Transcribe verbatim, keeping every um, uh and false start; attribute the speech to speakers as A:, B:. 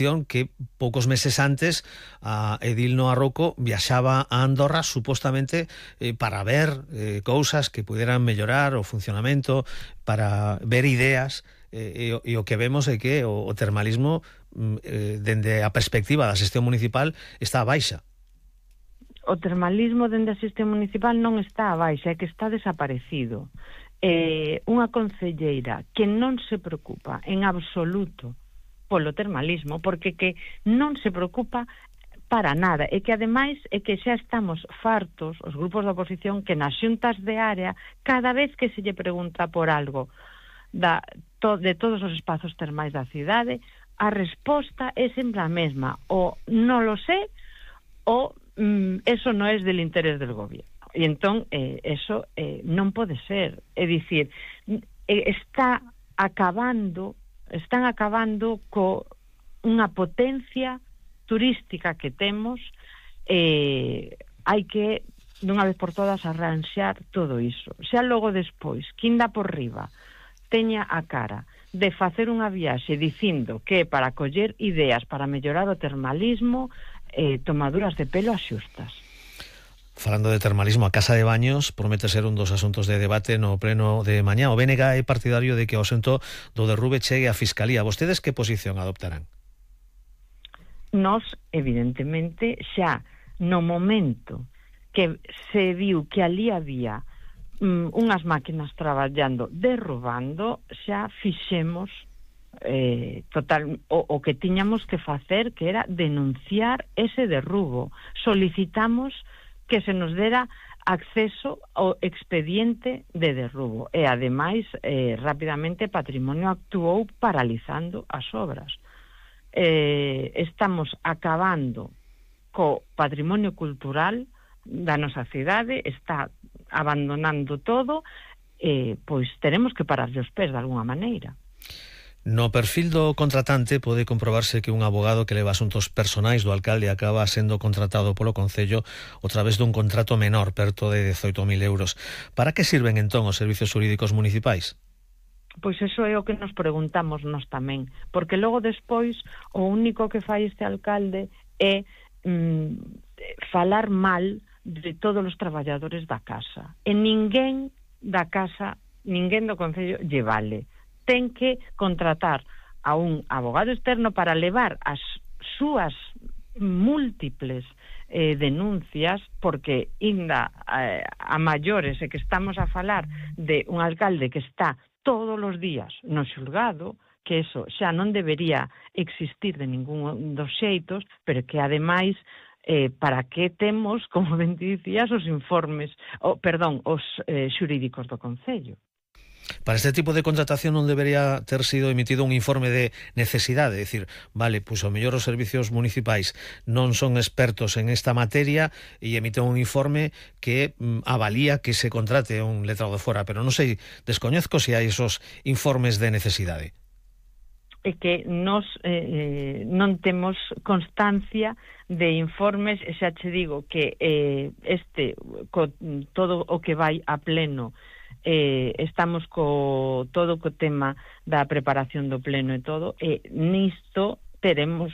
A: atención que poucos meses antes a Edil Noa Rouco viaxaba a Andorra supostamente eh, para ver eh, cousas que pudieran mellorar o funcionamento, para ver ideas, eh, e, e o que vemos é que o, o termalismo eh, dende a perspectiva da xestión municipal está a baixa.
B: O termalismo dende a xestión municipal non está a baixa, é que está desaparecido. Eh, unha concelleira que non se preocupa en absoluto polo termalismo, porque que non se preocupa para nada, e que ademais é que xa estamos fartos, os grupos da oposición, que nas xuntas de área, cada vez que se lle pregunta por algo da, to, de todos os espazos termais da cidade, a resposta é sempre a mesma, o non lo sé, o mm, eso non é del interés del gobierno. E entón, eh, eso eh, non pode ser. É dicir, eh, está acabando, están acabando co unha potencia turística que temos, eh, hai que, dunha vez por todas, arranxar todo iso. Xa logo despois, quinda por riba, teña a cara de facer unha viaxe dicindo que para coller ideas para mellorar o termalismo, eh, tomaduras de pelo as xustas.
A: Falando de termalismo, a Casa de Baños promete ser un dos asuntos de debate no pleno de mañá. O B N G é partidario de que o asento do derrube chegue á Fiscalía. Vostedes que posición adoptarán?
B: Nos, evidentemente, xa no momento que se viu que ali había mm, unhas máquinas traballando, derrubando, xa fixemos eh, total, o, o que tiñamos que facer, que era denunciar ese derrubo. Solicitamos que se nos dera acceso ao expediente de derrubo e, ademais, eh, rapidamente Patrimonio actuou paralizando as obras. Eh, estamos acabando co patrimonio cultural da nosa cidade, está abandonando todo, eh, pois teremos que pararlle os pés de alguna maneira.
A: No perfil do contratante pode comprobarse que un abogado que leva asuntos personais do alcalde acaba sendo contratado polo Concello a través dun contrato menor, perto de dezoito mil euros. Para que sirven entón os servizos xurídicos municipais?
B: Pois eso é o que nos preguntamos nós tamén, porque logo despois o único que fai este alcalde é mm, falar mal de todos os traballadores da casa. E ninguén da casa, ninguén do Concello lle vale. Ten que contratar a un abogado externo para levar as súas múltiples eh, denuncias, porque inda eh, a maiores é que estamos a falar de un alcalde que está todos os días no xulgado, que eso xa non debería existir de ningún dos xeitos, pero que ademais eh, para que temos, como ben dicías, os informes, o, perdón, os eh, xurídicos do Concello.
A: Para este tipo de contratación non debería ter sido emitido un informe de necesidade, é dicir, vale, pois ao mellor os servicios municipais non son expertos en esta materia e emiten un informe que mm, avalía que se contrate un letrado de fora, pero non sei, descoñezco se hai esos informes de necesidade.
B: É que nos eh, non temos constancia de informes, e xa che digo que eh, este, co, todo o que vai a pleno, eh, estamos co todo co tema da preparación do pleno e todo, e nisto teremos